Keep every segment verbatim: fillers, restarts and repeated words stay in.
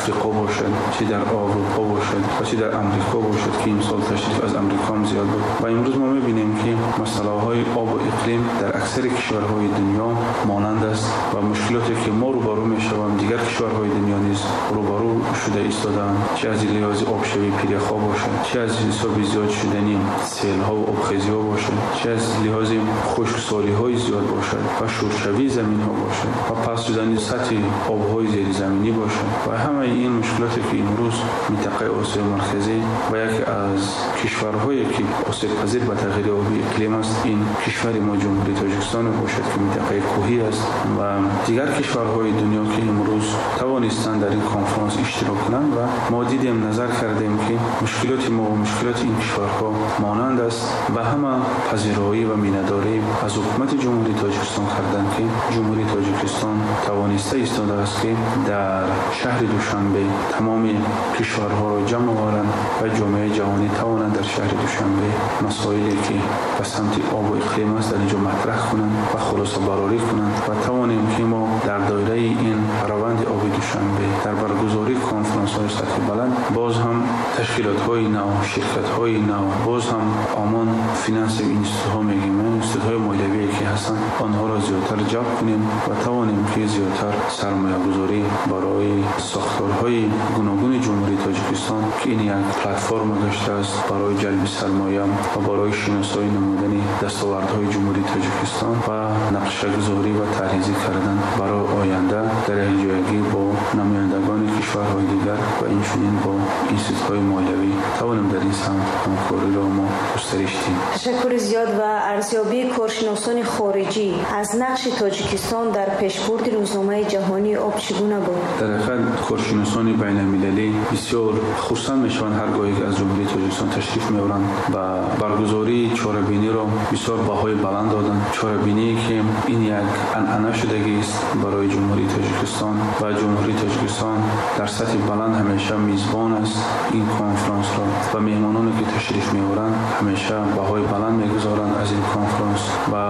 Африқо бошад, чӣ дар Аврупо бошад ва чӣ дар Амрико бошад, ки имсол ташриф аз Амрико ҳам зиёд буд. Ва имрӯз мо мебинем, ки масъалаҳои об ва иқлим дар аксари кишварҳои дунё монанд аст ва мушкилоте ки мо рӯбарӯ мешавем, дигар кишварҳои дунё низ рӯбарӯ шуда истодаанд, чӣ аз лиҳози обшавии пиряхҳо бошад, чӣ аз ҳисоби зиёд шудани селҳо ва обхезиҳо бошад, чӣ аз лиҳози хушксолиҳои зиёд бошад ва шуршавии заминҳо бошад ва паст шудани сатҳи обҳои зеризаминӣ бошад. Ва ҳамаи ин мушкилоте ки имрӯз минтақаи Осиёи Марказӣ ва яке аз кишварҳое ки осебпазир ба тағйири оби иқлим аст, ин кишвари мо Ҷумҳурии Тоҷикистон бошад, ки минтақаи кӯҳӣ аст, ва дигар кишварҳои дунё ки имрӯз тавонистанд дар ин конфронс иштирок кунанд. Ва мо дидем, назар кардем, ки мушкилоти мо ва мушкилоти ин кишварҳо монанд аст ва ҳама пазироӣ ва миннатдорӣ аз ҳукумати Ҷумҳурии Тоҷикистон карданд, ки Ҷумҳурии Тоҷикистон тавониста истодааст, ки дар шаҳри Душанбе тамоми кишварҳоро ҷамъ оваранд ва ҷомеаи ҷаҳонӣ тавонанд дар шаҳри Душанбе масоиле ки ба самти об ва иқлим аст дар инҷо матраҳ кунанд ва хулосабарорӣ кунанд ва тавонем, ки мо дар доираи ин раванди оби Душанбе дар баргузории конфронсҳои сатҳи баланд боз ҳам ташкилотҳои нав, ширкатҳои нав, боз ҳам омон финансовый институтҳо мегӯем, институтҳои молиявие ки ҳастанд, онҳоро зиёдтар ҷалб кунем ва тавонем, ки зиёдтар сармоягузорӣ барои сохторҳои гуногуни Ҷумҳурии Тоҷикистон, ки ин як платформа гаштааст барои ҷалби сармоя ва барои шиносоӣ намудани дастовардҳои Ҷумҳурии Тоҷикистон ва нақшагузорӣ ва тарҳрезӣ кардан барои оянда дар якҷоягӣ бо намояндагони кишварҳои дигар ва инчунин бо институтҳои молиявӣ тавонем дар ин самт ҳамкориро мо густариш диҳем. Ташаккури зиёд. Ва арзёбии коршиносони хориҷӣ аз нақши Тоҷикистон дар пешбурди рӯзномаи ҷаҳонии об чӣ гуна буд? Дар ҳақиқат коршиносони байналмилалӣ бисёр хурсанд мешаванд, ҳар гоҳе ки аз Ҷумҳурии Тоҷикистон ташриф меоранд ва баргузории чорабиниро бисёр баҳои баланд доданд. Чорабиние ки ин як анъана шудагист барои Ҷумҳурии Тоҷикистон ва Ҷумҳурии Тоҷикистон дар сатҳи баланд ҳамеша мизбон аст ин конфронсро ва меҳмононе ки ташриф меоранд, ҳамеша баҳои баланд мегузоранд аз ин конфронс ва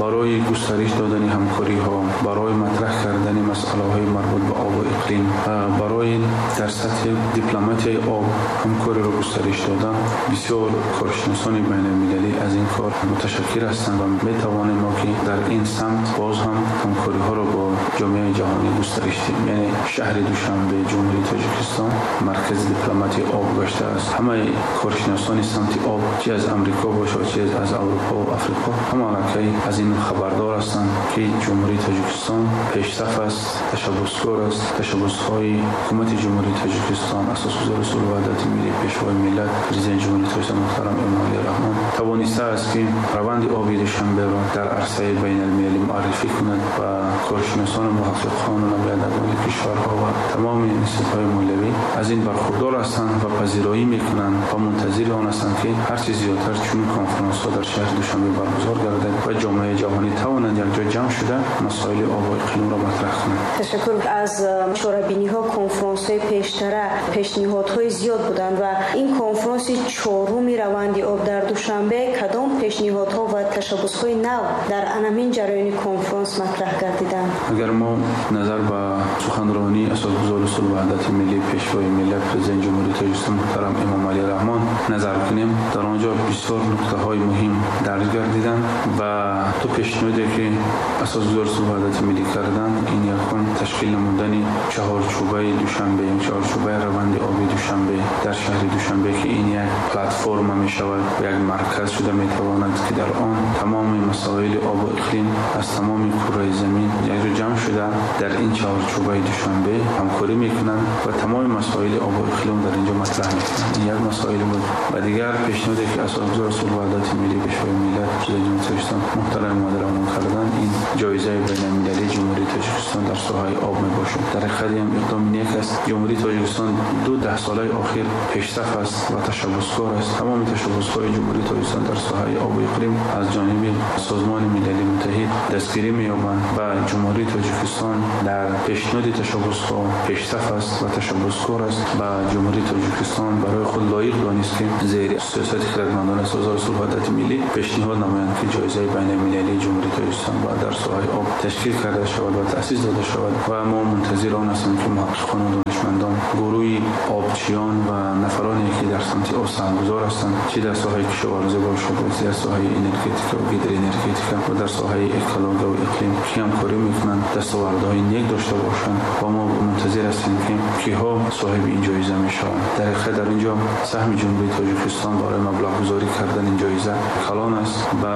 барои густариш додани ҳамкориҳо, барои матраҳ кардани масъалаҳои марбут ба об ва иқлим, барои дар сатҳи дипломатияи об ҳамкориро густариш додан, бисёр коршиносони байналмилалӣ аз ин кор муташаккир ҳастанд ва метавонем мо ки дар ин самт боз ҳам ҳамкориҳоро бо ҷомеаи ҷаҳонӣ густариш диҳем. Яъне шаҳри Душанбе, Ҷумҳурии Тоҷикистон маркази дипломатияи об гаштааст. Ҳамаи коршиносони самти об, чӣ аз Амрико бошад, чӣ аз Аврупо ва Африқо, ҳама аллакай аз ин хабардор ҳастанд, ки Ҷумҳурии Тоҷикистон пешсаф аст, ташаббускор аст. Ташаббусҳои ҳукумати Ҷумҳурии Тоҷикистон, асосгузори сулҳу ваҳдати миллӣ, пешвои миллат, президенти Ҷумҳурии Тоҷикистон муҳтарам Эмомалӣ Раҳмон тавонистааст, ки раванди оби Душанберо дар арсаи байналмилалӣ муаррифӣ кунад ва коршиносону муҳаққиқону намояндагони кишварҳо ва тамоми институтҳои молиявӣ аз ин бархурдор ҳастанд ва пазироӣ мекунанд ва мунтазири он ҳастанд, ки ҳарчи зиёдтар чунин конфронсҳо дар шаҳри Душанбе баргузор гардад ва ҷомеаи ҷаҳонӣ тавонанд якҷо ҷамъ шуда масоили об ва иқлимро матраҳ кунанд. Ташаккур. Аз чорабиниҳо, конфронсҳои пештара пешниҳодҳои зиёд буданд ва ин конфронси чоруми раванди об дар Душанбе кадом пешниҳодҳо ва ташаббусҳои нав дар анамин ҷараёни конфронс матраҳ гардиданд? Агар мо назар ба суханронии асосгузори сулҳу ваҳдати миллӣ, пешвои миллат, президенти Ҷумҳурии Тоҷикистон муҳтарам Эмомалӣ Раҳмон назар кунем, дар он ҷо бисёр нуқтаҳои муҳим дарҷ гардиданд ва ду пешниҳоде ки асосгузори сулҳу ваҳдати миллӣ карданд, ин якум ташкил намудани чаҳорчӯбаи Душанбе, чаҳорчӯбаи раванди оби Душанбе дар шаҳри Душанбе, ки ин як платформа мешавад, як марказ шуда метавонад, ки дар он тамоми масоили об ва иқлим аз тамоми кураи замин якҷо ҷамъ шуда дар ин чаҳорчӯбаи Душанбе ҳамкорӣ мекунанд ва тамоми масоили об ва иқлим дар инҷо матраҳ мекунанд. Ин як масоил буд. Ва дигар пешниҳоде ки асосгузори сулҳу ваҳдати миллӣ, пешвои миллат, президенти Ҷумҳурии Тоҷикистон муҳтарам Эмомалӣ Раҳмон карданд, ин ҷоизаи байналмилалии Ҷумҳурии Тоҷикистон дар соҳаи об мебошад. Дар ҳақиқат ин иқдоми нек аст. Ҷумҳурии Тоҷикистон ду даҳсолаи охир пешсаф аст ва ташаббускор аст. Тамоми ташаббусҳои Ҷумҳурии Тоҷикистон дар соҳаи об ва иқлим аз ҷониби Созмони Милали Муттаҳид дастгирӣ меёбанд ва Ҷумҳурии Тоҷикистон дар пешниҳоди ташаббусҳо пешсаф аст ва ташаббускор аст ва Ҷумҳурии Тоҷикистон барои худ лоиқ донист, ки зери сиёсати хирадмандонаи Созмони сулҳу ваҳдати миллӣ пешниҳод намоянд, ки ҷоизаи байналмилалии Ҷумҳурии Тоҷикистон бояд дар соҳаи об ташкил карда шавад ва таъсис дода шавад. Ва мо мунтазир он ҳастем, ки муҳаққиқон ва دانشمندان، گروهی آبچیان و نفرانی که در سمت آب سهمگذار هستند، چه در ساحه کشاورزی باشد و چه در ساحه انرژتیک و گیدر انرژتیک و در ساحه اکولوژی و اقلیم که همکاری میکنند، دستاوردهای نیک داشته باشند و ما منتظر هستیم که کیها صاحب این جایزه میشوند. در حقیقت در اینجا سهم جمهوری تاجیکستان برای مبلغ گذاری کردن این جایزه کلان است و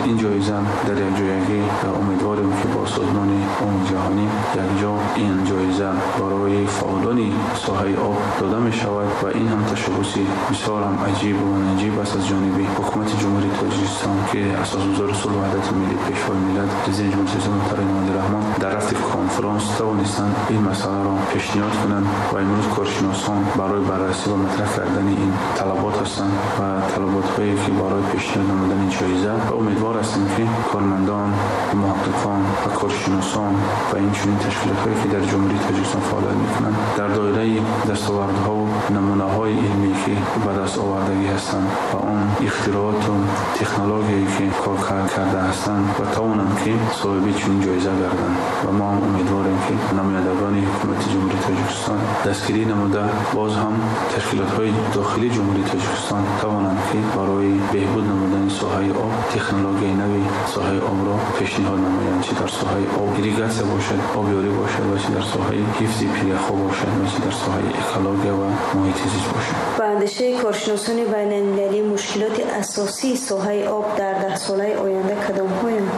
این جایزه در یک جایگی امیدواریم که با سازمان عمومی جهانی یک جا این جایزه برای فعالان ساحه آب داده می شود و این هم تشبثی بسیار هم عجیب و نجیب است از جانب حکومت جمهوری تاجیکستان که اساسگذار صلح و وحدت ملی، پیشوای ملت، رئیس جمهور محترم امامعلی رحمان در رفت کنفرانس توانستند این مسئله را پیشنهاد کنند و امروز کارشناسان برای بررسی و مطرح کردن این طلبات هستند و طلبات هایی که برای پیشنهاد نمودن جایزه و امیدوار هستیم که کارمندان، محققان و کارشناسان و این چنین تشکیلات هایی که در جمهوری تاجیکستان فعالیت میکنند در دایره دستاوردها و نمونه های علمی که به دست آوردگی هستند و آن اختراعات و تکنولوژی که کار کرده هستند و توانند که صاحب چنین جایزه گردند و ما هم امیدواریم که نمایندگان حکومت جمهوری تاجیکستان دستگیری نموده باز هم تشکیلات های داخلی جمهوری تاجیکستان توانند که برای بهبود نمودن ساحه آب تکنولوژی نوی ساحه آب را پیشنهاد نمایند، چه در ساحه آب ایریگاسیا باشد، آبیاری باشد و چه در ساحه حفظ پیرخو باشد و چه در ساحه اکولوژی و محیط زیست باشد. به اندیشه کارشناسان بین‌المللی مشکلات اساسی ساحه آب در ده ساله آینده کدام هایند؟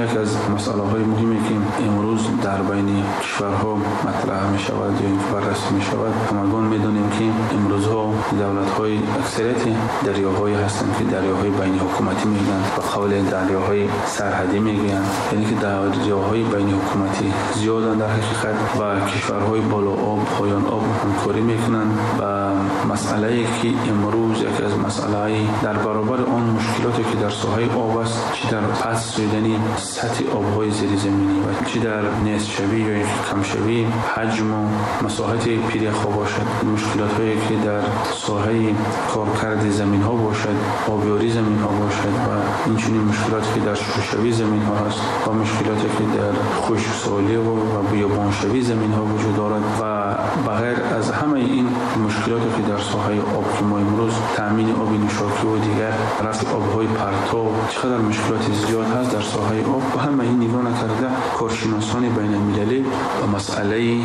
یکی از مسئله های مهمی که امروز در بین کشورها مطرح می شود یا بررسی می شود، همگان می دانیم که امروزها دولت های اکثریت دریاهایی هستند که دریاهای بین حکومتی میگن و قول دریاهای سرحدی میگن، یعنی که دریاهای بین حکومتی زیادند در حقیقت و کشورهای بالا آب پایان آب همکاری میکنند و مسئله که امروز یکی از مسئله در برابر آن مشکلاتی که در ساحه آب است، چه در پس شدن سطح آبهای زیرزمینی و چه در نیست شوی یا کم شوی حجم و مساحت پیریخ‌ها باشد، مشکلات هایی که در ساحه کارکرد زمین ها باشد، آبیاری زمین ها باشد و این چنین مشکلاتی که در شوشوی زمین ها هست و مشکلاتی که در خشکسالی و بیابان شوی زمین ها وجود دارد و بغیر از همه این مشکلاتی که در ساحه آب که ما امروز تامین آب نوشاکی و دیگر رفع آبهای پرتاب چقدر مشکلات زیاد هست در ساحه آب و همه این نگاه نکرده کارشناسان بین المللی و مسئله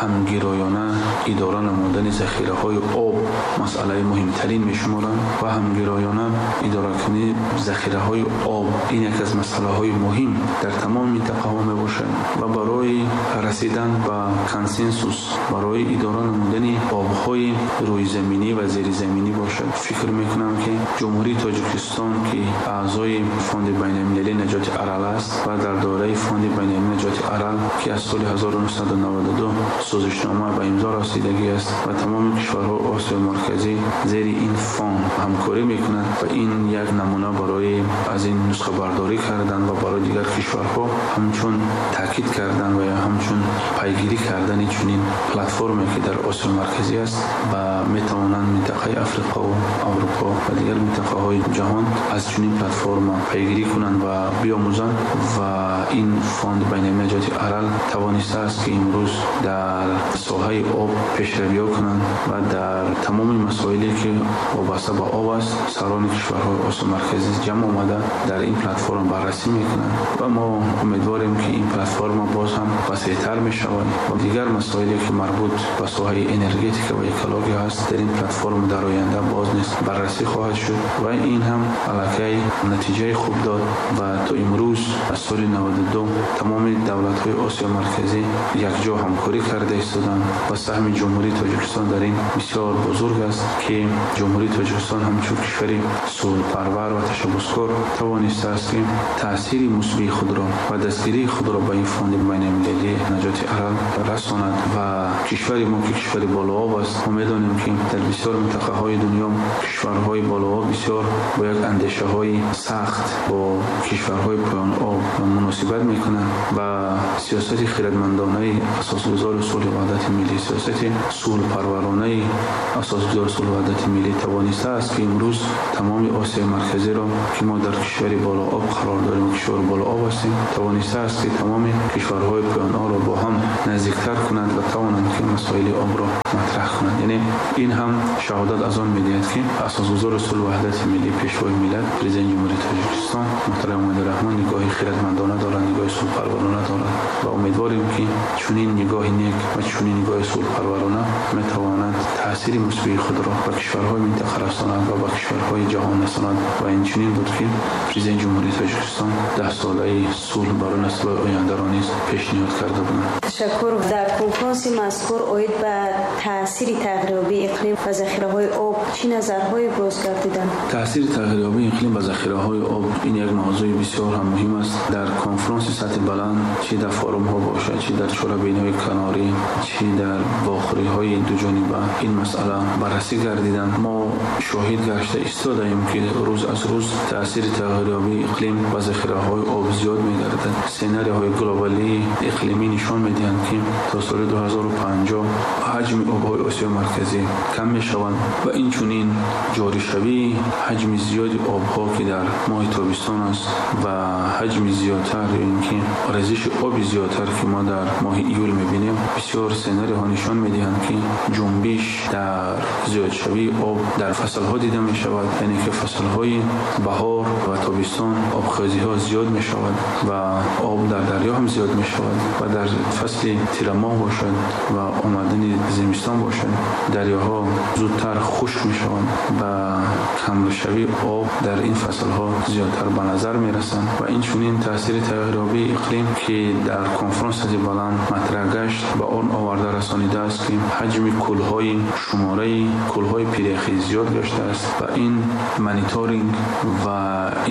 همگرایانه اداره نمودن ذخیره های آب مسئله مهمترین میشمارند و همگرایانه اداره کردن ذخیره های آب این یکی از مسئله های مهم در تمام منطقه ها می باشد و برای رسیدن به کنسنسوس برای اداره نمودن آبهای روی زمینی و زیر زمینی باشد. فکر میکنم که جمهوری تاجیکستان که اعضای فاند بین المللی نجات ارال است و در دایره فاند بین المللی نجات ارال که از سال هزار و نهصد و نود و دو سازشنامه به امضا رسیدگی است و تمام کشورها آسیای مرکزی زیر این فاند همکاری میکنند و این یک نمونه برای از این نسخه برداری کردن و برای دیگر کشورها همچون تاکید کردن و یا همچون پیگیری کردن چنین پلتفرمی که در آسیای مرکزی است و میتوانند منطقه افریقا و اروپا و دیگر منطقه های جهان از چنین پلتفرم پیگیری کنند و بیاموزند و این فاند بین المللی نجات ارال توانسته است که امروز در ساحه آب پیشروی کنند و در تمام مسائلی که وابسته به آب است سران کشورهای آسیای مرکزی جمع آمده در این پلتفرم بررسی میکنند و ما امیدواریم که این پلتفرم باز هم وسیع‌تر میشود و دیگر مسائلی که مربوط به ساحه انرژتیک و اکولوژی هست در این پلتفرم در آینده باز نیز بررسی خواهد شد و این هم علاقه نتیجه خوب داد و تا امروز از سال نود و دو تمام دولت‌های آسیای مرکزی یکجا همکاری کرده ایستادند و سهم جمهوری تاجیکستان در این بسیار بزرگ است که جمهوری تاجیکستان همچون کشوری صلح‌پرور و تشبثکار توانسته است که تأثیر مثبت خود را و دستگیری خود را به این فاند بین المللی نجات ارال رساند و کشور ما که کشور بالا آب است ما می‌دانیم Медонем, ки дар бисёр минтақаҳои дунё кишварҳои болооб бисёр бо як андешаҳои сахт бо кишварҳои поёноб муносибат мекунанд ва сиёсати хирадмандонаи асосгузори сулҳу ваҳдати миллӣ, сиёсати сулҳпарваронаи асосгузори сулҳу ваҳдати миллӣ тавонистааст, ки имрӯз тамоми Осиёи Марказиро, ки мо дар кишвари болооб қарор дорем, кишвар болооб ҳастем, тавонистааст, ки тамоми кишварҳои поёнобро бо ҳам наздиктар кунад ва тавонанд, ки масоили обро матраҳ кунанд. Яъне ин ҳам шаҳодат аз он медиҳад, ки асосгузори сулҳу ваҳдати миллӣ, Пешвои миллат, Президенти Ҷумҳурии Тоҷикистон муҳтарам Эмомалӣ Раҳмон нигоҳи хирадмандона дорад, нигоҳи сулҳпарварона дорад ва умедворем, ки чунин нигоҳи нек ва чунин нигоҳи сулҳпарварона метавонад таъсири мусбии худро ба кишварҳои минтақа расонад ва ба кишварҳои ҷаҳон расонад. Ва инчунин буд, ки Президенти Ҷумҳурии Тоҷикистон даҳсолаи сулҳ барои наслҳои ояндаро низ пешниҳод карда буданд. Ташаккур. Дар конфронси мазкур оид ба таъсири тағйирёбии иқлим ба захираҳои об чӣ назарҳое боз гардиданд? Таъсири тағйирёбии иқлим ба захираҳои об ин як мавзӯи бисёр ҳам муҳим аст. Дар конфронси сатҳи баланд, чӣ дар форумҳо бошад, чӣ дар чорабиниҳои канорӣ, чӣ дар вохӯриҳои дуҷониба ин масъала баррасӣ гардиданд. Мо шоҳид гашта истодаем, ки рӯз аз рӯз таъсири тағйирёбии иқлим ба захираҳои об зиёд мегардад. Сценарийҳои глобалии иқлимӣ нишон медиҳанд, ки то соли ду ҳазору панҷоҳ ҳаҷми обҳои Осиёи Марказӣ кам мешаванд ва инчунин ҷоришавии ҳаҷми зиёди обҳо, ки дар моҳи тобистон аст, ва ҳаҷми зиёдтар ё ин ки резиши оби зиёдтар, ки мо дар моҳи июл мебинем, бисёр сценарийҳо нишон медиҳанд, ки ҷунбиш дар зиёдшавии об дар фаслҳо дида мешавад. Яъне ки фаслҳои баҳор ва тобистон обхезиҳо зиёд мешавад ва об дар дарё ҳам зиёд мешавад ва дар фасли тирамоҳ бошад ва омадани зимистон бошад, дарёҳо зудтар хушк мешаванд ва камшавии об дар ин фаслҳо зиёдтар ба назар мерасанд. Ва инчунин таъсири тағйирёбии иқлим, ки дар конфронс сатҳи баланд матраҳ гашт, ба он оварда расонидааст, ки ҳаҷми кӯлҳои шумораи кӯлҳои пиряхӣ зиёд гаштааст ва ин мониторинг ва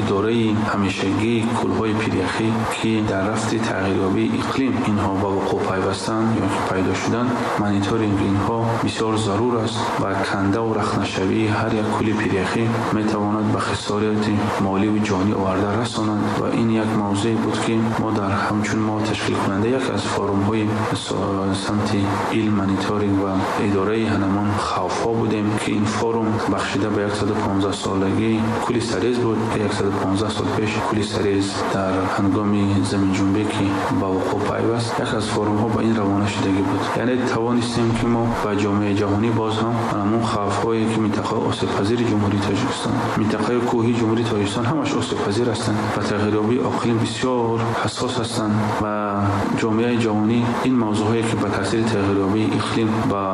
идораи ҳамешагии кӯлҳои пиряхӣ, ки дар рафти тағйирёбии иқлим инҳо ба вуқӯъ пайвастанд ё ки пайдо шуданд, мониторинги инҳо бисёр зарур аст ва кандаву рахнашавии ҳар як кӯли пиряхӣ метавонад ба хисороти моливу ҷонӣ оварда расонад. Ва ин як мавзӯе буд, ки мо дар ҳамчун мо ташкилкунанда як аз форумҳои самти илм, мониторинг ва идораи ҳанамон хавфҳо будем, ки ин форум бахшида ба яксаду понздаҳ солагии кӯли Сарез буд. Яксаду понздаҳ сол пеш кӯли Сарез дар ҳангоми заминҷунбе, ки ба вуқӯъ пайваст, як аз форумҳо ба ин равона шудагӣ буд. Яъне тавонистем, ки мо ба ҷомеаи ҷаҳонӣ боз ҳам ҳамон хавфҳое, ки минтақаи осебпазири Ҷумҳурии Тоҷикистон, минтақаи кӯҳии Ҷумҳурии Тоҷикистон ҳамаш осебпазир ҳастанд ва тағйирёбии иқлим бисёр ҳассос ҳастанд ва ҷомеаи ҷаҳонӣ ин мавзӯъҳое, ки ба таъсири тағйирёбии иқлим ба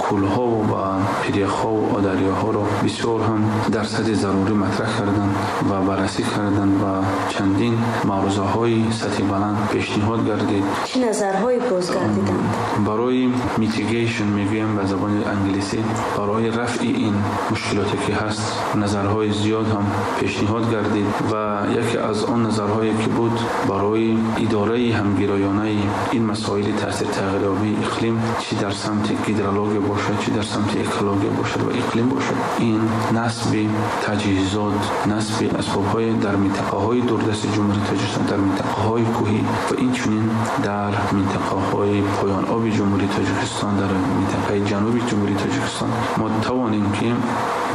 кӯлҳо ва ба пиряхҳо ва дарёҳоро бисёр ҳам дар сатҳи зарурӣ матраҳ карданд ва баррасӣ карданд ва чандин маърузаҳои сатҳи баланд пешниҳод гардид. Чӣ назарҳое боз гардиданд? Барои mitigation мегӯем ба забони англисӣ, барои рафъи ин мушкилоте, ки ҳаст, назарҳои зиёд ҳам пешниҳод гардид ва яке аз он назарҳое, ки буд, барои идораи ҳамгироёнаи ин масоили таъсири тағйирёбии иқлим, чӣ дар самти гидрология бошад, чӣ дар самти экология бошад ва иқлим бошад, ин насби таҷҳизот, насби асбобҳои дар минтақаҳои дурдасти Ҷумҳурии Тоҷикистон, дар минтақаҳои кӯҳӣ ва инчунин дар минтақаҳои поёноби Ҷумҳурии Тоҷикистон, дар минтақаи ҷануби Ҷумҳурии Тоҷикистон мо тавонем, ки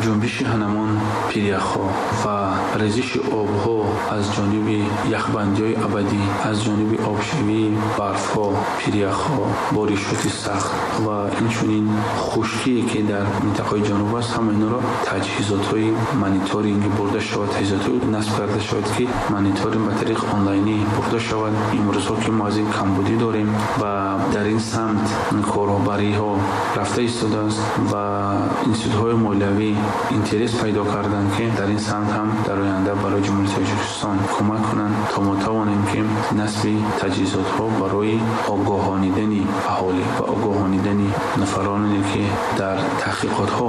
ҷунбиши ҳанамон пиряхҳо ва резиши обҳо аз ҷониби яхбандиҳои абадӣ, аз ҷониби обшавии барфҳо, пиряхҳо, боришоти сахт ва инчунин хушкие, ки дар минтақаи ҷануб аст, ҳама инро таҷҳизотҳои мониторинг бурда шавад, таҷҳизотҳои насб карда шавад, ки мониторинг ба тариқи онлайнӣ бурда шавад. Имрӯзҳо, ки мо аз ин камбудӣ дорем ва дар ин самт корбариҳо рафта истодааст ва институтҳои молиявӣ интерес пайдо карданд, ки дар ин самт ҳам дар оянда барои Ҷумҳурии Тоҷикистон кӯмак кунанд, то мо тавонем, ки насби таҷҳизотҳо барои огоҳонидани аҳолӣ ва огоҳонидани нафароне, ки дар таҳқиқотҳо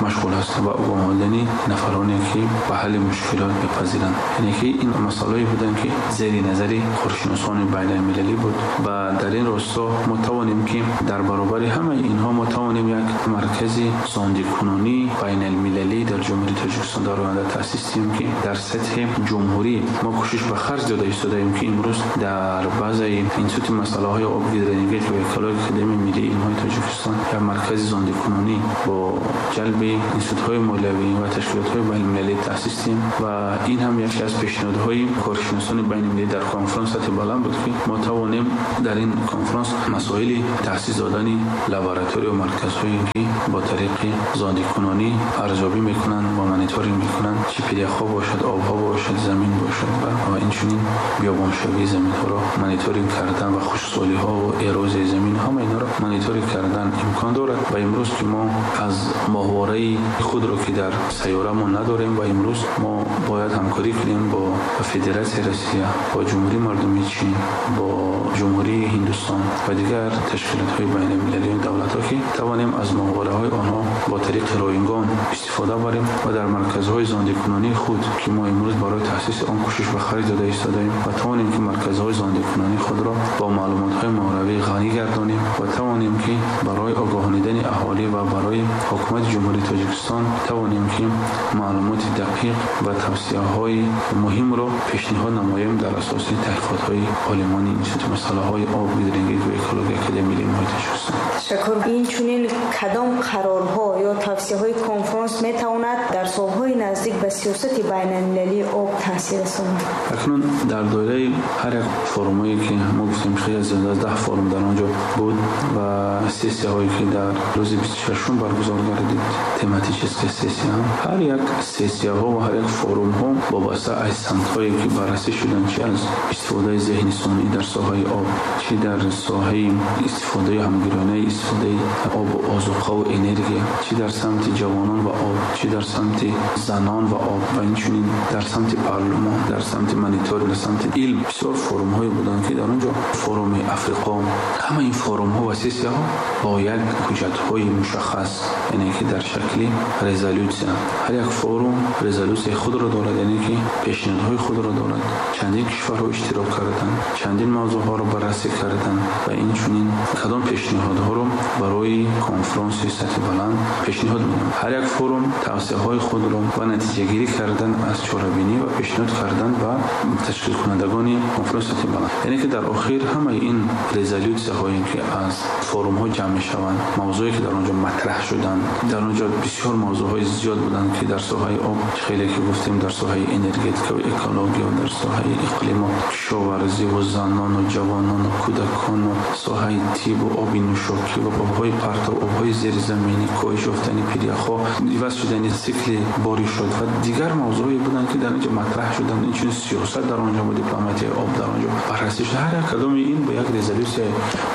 машғул ҳастанд, ва огоҳонидани нафароне, ки ба ҳалли мушкилот мепазиранд. Яъне ки ин масъалаҳое буданд, ки зери назари коршиносони байналмилалӣ буд ва дар ин росто мо тавонем, ки дар баробари ҳамаи инҳо мо тавонем як маркази маркази зондикунонии байналмилалӣ дар Ҷумҳурии Тоҷикистон дар оянда таъсис диҳем, ки дар сатҳи ҷумҳурӣ мо кӯшиш ба харҷ дода истодаем, ки имрӯз дар базаи Институти масъалаҳои об, гидроэнергетика ва экологияи Академияи миллии илмҳои Тоҷикистон як маркази зондикунонӣ бо ҷалби институтҳои молиявӣ ва ташкилотҳои байналмилалӣ таъсис диҳем. Ва ин ҳам яке аз пешниҳодҳои коршиносони байналмилалӣ дар конфронс сатҳи баланд буд, ки мо тавонем дар ин конфронс масоили таъсис додани лаборатория ва марказҳое, ки бо тариқи зондикунонӣ арзёбӣ мекунанд ва мониторинг мекунанд, чӣ пиряхҳо бошад, обҳо бошад, замин бошад ва инчунин биёбоншавии заминҳоро мониторинг кардан ва хушксолиҳо ва эрозияи замин, ҳама инҳоро мониторинг кардан имкон дорад. Ва имрӯз ки мо аз моҳвораи худро, ки дар сайёраамон надорем, ва имрӯз мо бояд ҳамкорӣ кунем бо Федератсияи Россия, бо Ҷумҳурии Мардумии Чин, бо Ҷумҳурии Ҳиндустон ва дигар ташкилотҳои байналмилалӣ ва давлатҳо, ки тавонем аз моҳвораҳои онҳо бо тариқи ройгон истифода барем ва дар марказҳои зондикунонии худ, ки мо имрӯз барои таъсиси он кӯшиш ба харҷ дода истодаем, ва тавонем ки марказҳои зондикунонии худро бо маълумотҳои моҳворавӣ ғанӣ гардонем ва тавонем ки барои огоҳонидани аҳолӣ ва барои ҳукумати Ҷумҳурии Тоҷикистон тавонем ки маълумоти дақиқ ва тавсияҳои муҳимро пешниҳод намоем дар асоси таҳқиқотҳои олимони Институти масъалаҳои об, гидроэнергетика ва экологияи Академияи миллии илмҳои Тоҷикистон. Ташаккур. Инчунин кадом қарорҳо ё тавсияҳои конфронс метавонад дар солҳои наздик ба сиёсати байналмилалии об таъсир расонад? Акнун дар доираи ҳар як форумҳое, ки мо гуфтем, хеле зиёд аз даҳ форум дар он ҷо буд ва сессияҳое, ки дар рӯзи бисту шашум баргузор гардид, тематическая сессия, ҳар як сессияҳо ва ҳар як форумҳо вобаста аз самтҳое, ки баррасӣ шуданд, чи аз истифодаи зеҳни сунъӣ дар соҳаи об, чи дар соҳаи истифодаи ҳамгиронаи истифодаи об, озуқа ва энергия, чи дар самти ҷавонон ва об, чи дар самти занон ва об ва инчунин дар самти парлумон, дар самти мониторинг, дар самти илм, бисёр форумҳое буданд, ки дар он ҷо форуми Африқо, ҳама ин форумҳо ва сессияҳо бо як ҳуҷҷатҳои мушаххас, яъне ки дар шакли резолюсия, ҳар як форум резолюсияи худро дорад, яъне ки пешниҳодҳои худро дорад. Чандин кишварҳо иштирок карданд, чандин мавзӯъҳоро баррасӣ карданд ва инчунин кадом пешниҳодҳоро барои конфронси сатҳи баланд пешниҳод менамоянд. Ҳар як форум тавсияҳои худро ва натиҷагирӣ кардан аз чорабинӣ ва пешниҳод кардан ба ташкилкунандагони конфронси сатҳи баланд, яъне ки дар охир ҳамаи ин резолюсияҳое, ки аз форумҳо ҷамъ мешаванд, мавзӯе, ки дар он ҷо матраҳ шуданд, дар он ҷо бисёр мавзӯъҳои зиёд буданд, ки дар соҳаи об, хеле ки гуфтем, дар соҳаи энергетика ва экология, дар соҳаи иқлим ва кишоварзӣ ва занон ва ҷавонон ва кӯдакон ва соҳаи тиб ва оби нӯшокӣ ва обҳои партов, обҳои зеризаминӣ, коҳиш ёфтани пиряхҳо, иваз шудани сикли боришот ва дигар мавзӯъҳое буданд, ки дар ин ҷо матраҳ шуданд. Инчунин сиёсат дар он ҷо ва дипломатияи об дар он ҷо баррасӣ шуд. Ҳар як кадоми ин бо як резолюсияи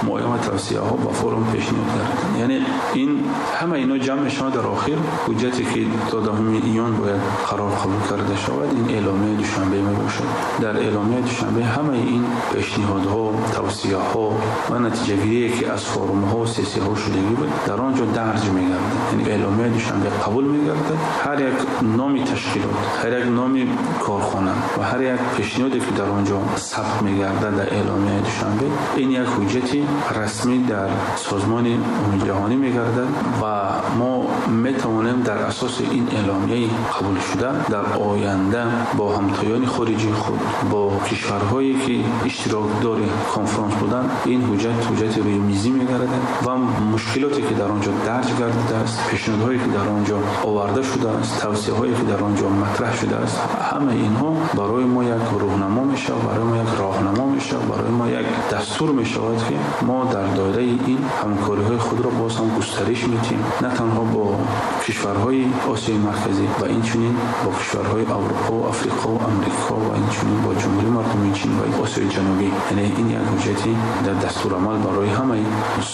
муайян ва тавсияҳо ба форум пешниҳод гардиданд. Яъне ин ҳама ино ҷамъ мешавад дар охир ҳуҷҷате, ки то даҳуми июн бояд қарор қабул карда шавад, ин эъломияи Душанбе мебошад. Дар эъломияи Душанбе ҳамаи ин пешниҳодҳо, тавсияҳо ва натиҷагирие, ки аз форумҳо, сессияҳо шудагӣ буд, дар он ҷо дарҷ мегардад. Яъне эъломияи Душанбе қабул мегардад. Ҳар як номи ташкилот, ҳар як номи корхона ва ҳар як пешниҳоде, ки дар он ҷо сабт мегардад дар эъломияи Душанбе, ин як ҳуҷҷати расмӣ дар Созмони Умумиҷаҳонӣ мегардад ва мо метавонем дар асоси ин эъломияи қабулшуда дар оянда бо ҳамтоёни хориҷии худ, бо кишварҳое, ки иштирокдори конфронс буданд, ин ҳуҷҷат ҳуҷҷати рӯи мизӣ мегардад ва мушкилоте, ки дар он ҷо дарҷ гардидааст, пешниҳодҳое, ки дар он ҷо оварда шудааст, тавсияҳое, ки дар он ҷо матраҳ шудааст, ҳамаи инҳо барои мо як рӯҳнамо мешавад, барои мо як роҳнамо мешавад, барои мо як дастур мешавад, ки мо дар доираи ин ҳамкориҳои худро боз ҳам густариш медиҳем, на танҳо бо кишварҳои Осиёи Марказӣ ва инчунин бо кишварҳои Аврупо, Африқо ва Амрико ва инчунин бо Ҷумҳурии Мардумии Чин ва Осиёи Ҷанубӣ. Яъне ин як ҳуҷҷати дар дастурамал барои ҳамаи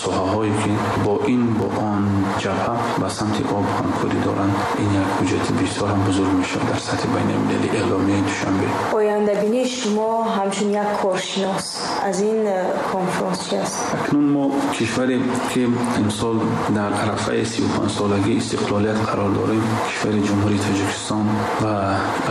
соҳаҳое, ки бо ин бо он ҷабҳа ба самти об ҳамкорӣ доранд, ин як ҳуҷҷати бисёр ҳам бузург мешавад дар сатҳи байналмилалӣ эъломияи Душанбе. Ояндабинии шумо ҳамчун як коршинос аз ин конфронс чи аст? Акнун мо кишваре, ки имсол дар арафаи сию панҷ солагии истиқлолият қарор дорем, кишвари Ҷумҳурии Тоҷикистон ва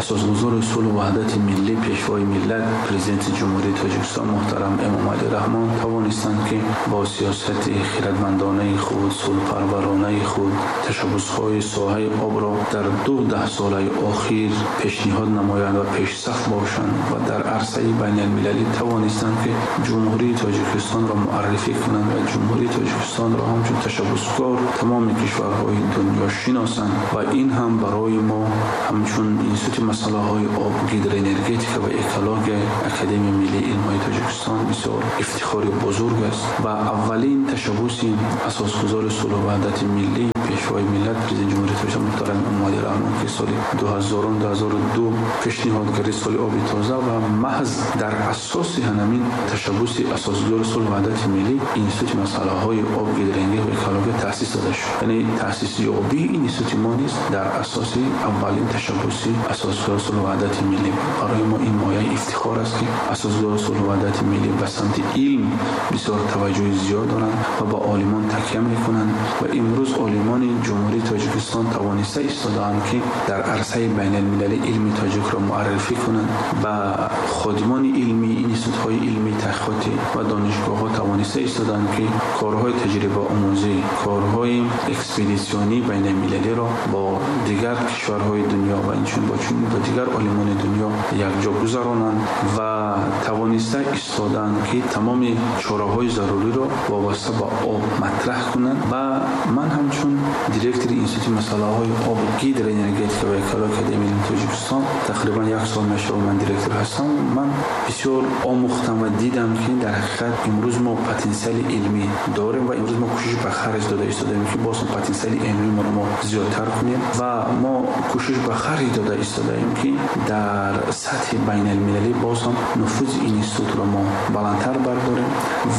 асосгузори сулҳу ваҳдати миллӣ, пешвои миллат, президенти Ҷумҳурии Тоҷикистон муҳтарам Эмомалӣ Раҳмон тавонистанд, ки бо сиёсати хирадмандонаи худ, сулҳпарвар навоваронаи худ ташаббусҳои соҳаи обро дар ду даҳсолаи охир пешниҳод намоянд ва пешсаф бошанд ва дар арсаи байналмилалӣ тавонистанд, ки Ҷумҳурии Тоҷикистонро муаррифӣ кунанд ва Ҷумҳурии Тоҷикистонро ҳамчун ташаббускор тамоми кишварҳои дунё шиносанд. Ва ин ҳам барои мо ҳамчун Институти масъалаҳои об, гидроэнергетика ва экологияи Академияи миллии илмҳои Тоҷикистон бисёр ифтихори бузург аст. Ва аввалин ташаббуси асосгузори сулҳу ваҳдати миллӣ, Пешвои миллат, Президенти Ҷумҳурии Тоҷикистон муҳтарам Эмомалӣ Раҳмон, ки соли ду ҳазорум ду ҳазору ду пешниҳод кард соли оби тоза ва маҳз дар асоси ҳамин ташаббуси асосгузори сулҳу ваҳдати миллӣ Институти масъалаҳои об, гидроэнергетика ва экология таъсис дода шуд. Яъне таъсисёбии ин институти мо низ дар асоси аввалин ташаббуси асосгузори сулҳу ваҳдати миллӣ буд. Барои мо ин мояи ифтихор аст, ки асосгузори сулҳу ваҳдати миллӣ ба самти илм бисёр таваҷҷӯҳи зиёд доранд ва ба олимон такя мекунанд ва имрӯз олимон Ҷумҳурии Тоҷикистон тавониста истодаанд, ки дар арсаи байналмилалӣ илми тоҷикро муаррифӣ кунанд. Ба ходимони илмӣ, институтҳои илмӣ, таҳқиқотӣ ва донишгоҳҳо тавониста истодаанд, ки корҳои таҷрибаомӯзӣ, корҳои экспедитсионии байналмилалиро бо дигар кишварҳои дунё ва инчунин бо чунин бо дигар олимони дунё якҷо гузаронанд ва тавониста истодаанд, ки тамоми чораҳои заруриро вобаста ба об матраҳ кунанд. Ва ман ҳамчун директори Институти масъалаҳои об, гидроэнергетика ва экологияи Академияи илмии Тоҷикистон тақрибан як сол мешавад ман директор ҳастам. Ман бисёр омӯхтам ва дидам, ки дар ҳақиқат имрӯз мо потенсиали илмӣ дорем ва имрӯз мо кӯшиш ба харҷ дода истодаем, ки боз потенсиали илмии мо зиёдтар кунем ва мо кӯшиш ба харҷ дода истодаем, ки дар сатҳи байналмилалӣ боз ҳам нуфузи институтро мо баландтар бардорем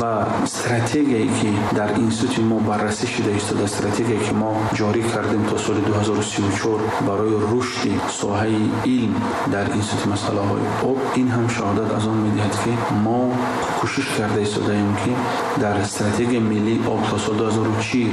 ва стратегияе, ки дар институти мо баррасӣ шуда истода, стратегияе, ки мо ҷорӣ кардем то соли ду ҳазору сию чор барои рушди соҳаи илм дар Институти масъалаҳои об, ин ҳам шаҳодат аз он медиҳад, ки мо кӯшиш карда истодаем, ки дар стратегияи миллии об то соли ду ҳазору чил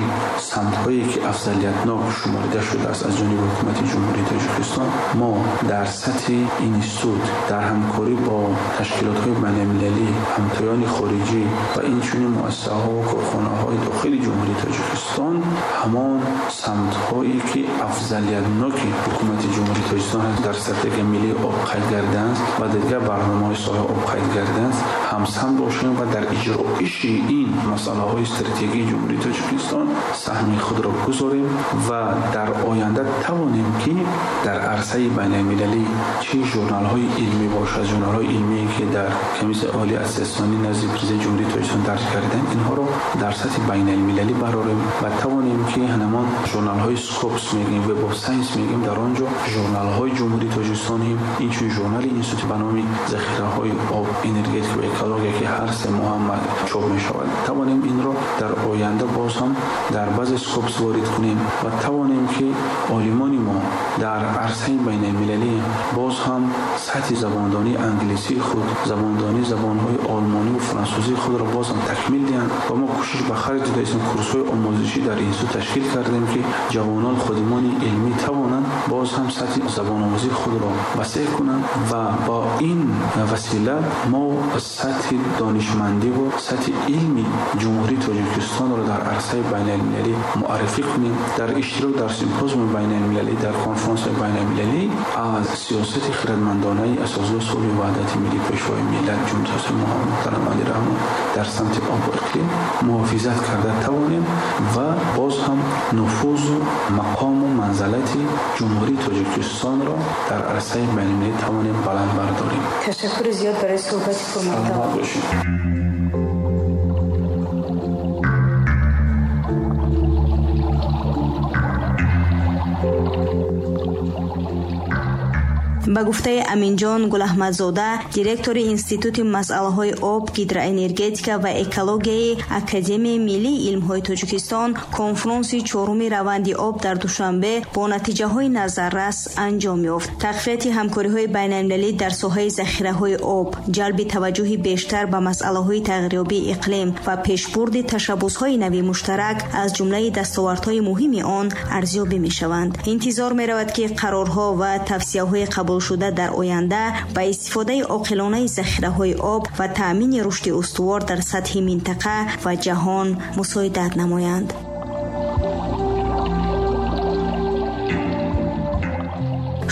самтҳое, ки афзалиятнок шуморида шудааст аз ҷониби Ҳукумати Ҷумҳурии Тоҷикистон, мо дар сатҳи институт дар ҳамкорӣ бо ташкилотҳои байналмилалӣ, ҳамтоёни хориҷӣ ва инчунин муассисаҳо ва корхонаҳои дохили Ҷумҳурии Тоҷикистон ҳамон самтҳое, ки афзалиятноки Ҳукумати Ҷумҳурии Тоҷикистон дар стратегияи миллии об қайд кардаанд ва дигар барномаҳои соҳаи об қайд кардаанд, ҳамсамт бошем ва дар иҷроиши ин масъалаҳои стратегии Ҷумҳурии Тоҷикистон саҳми худро гузорем ва дар оянда тавонем, ки дар арсаи байналмилалӣ чӣ журналҳои илмӣ бошад, журналҳои илмие, ки дар Комиссияи олии аттестатсионӣ назди Президенти Ҷумҳурии Тоҷикистон дарҷ карданд, инҳоро дар сатҳи байналмилалӣ барорем ва тавонем, ки ҳамон журналҳои Scopus мегӯем, Web of Science мегӯем, дар он ҷо журналҳои Ҷумҳурии Тоҷикистон, инчунин журнали институт ба номи захираҳои об, энергетика ва экология, ки ҳар се моҳ чоп мешавад, тавонем инро дар оянда боз ҳам дар баъзе Scopus ворид кунем ва тавонем, ки олимони мо дар арсаи байналмилалӣ боз ҳам сатҳи забондонии англисии худ, забондонии забонҳои олмонӣ ва франсузии худро боз ҳам такмил диҳанд. Ва мо кӯшиш ба харҷ додаистем, курсҳои омӯзишӣ дар институт ташкил кардем, ки ҷавонон, ходимони илмӣ тавонанд боз ҳам сатҳи забономӯзии худро васеъ кунанд ва бо ин васила мо сатҳи донишмандӣ ва сатҳи илми Ҷумҳурии Тоҷикистонро дар арсаи байналмилалӣ муаррифӣ кунем. Дар иштирок дар симпозиуми байналмилалӣ, дар конференсияи байналмилалӣ аз сиёсати хирадмандонаи асосгузори сулҳу ваҳдати миллӣ, Пешвои миллат, Ҷумҳурии муҳтарам Эмомалӣ Раҳмон дар самти об ва иқлим муҳофизат карда тавонем ва боз ҳам нуфузу мақому манзалати Ҷумҳурии Тоҷикистонро дар арсаи байналмилалӣ тавонем баланд бардорем. Ташаккури зиёд барои суҳбати пурмуҳтаво. Саломат бошед. Ба гуфтаи Аминҷон Гулаҳмадзода, директори Институти масъалаҳои об, гидроэнергетика ва экологияи Академияи миллии илмҳои Тоҷикистон, конфронси чоруми раванди об дар Душанбе бо натиҷаҳои назаррас анҷом ёфт. Тақвияти ҳамкориҳои байналмилалӣ дар соҳаи захираҳои об, ҷалби таваҷҷӯҳи бештар ба масъалаҳои тағйирёбии иқлим ва пешбурди ташаббусҳои нави муштарак аз ҷумлаи дастовардҳои муҳими он арзёбӣ мешаванд. Интизор меравад, ки қарорҳо ва тавсияҳои қабул шуда дар оянда ба истифодаи оқилонаи захираҳои об ва таъмини рушди устувор дар сатҳи минтақа ва ҷаҳон мусоидат намоянд.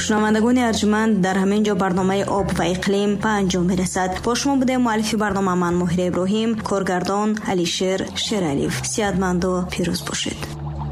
Шунавандагони арҷманд, дар ҳамин ҷо барномаи об ва иқлим ба анҷом мерасад. Бо шумо будем муаллифи барнома ман Моҳира Иброҳим, коргардон Алишер Шералиев. Сиҳатманду пирӯз бошед.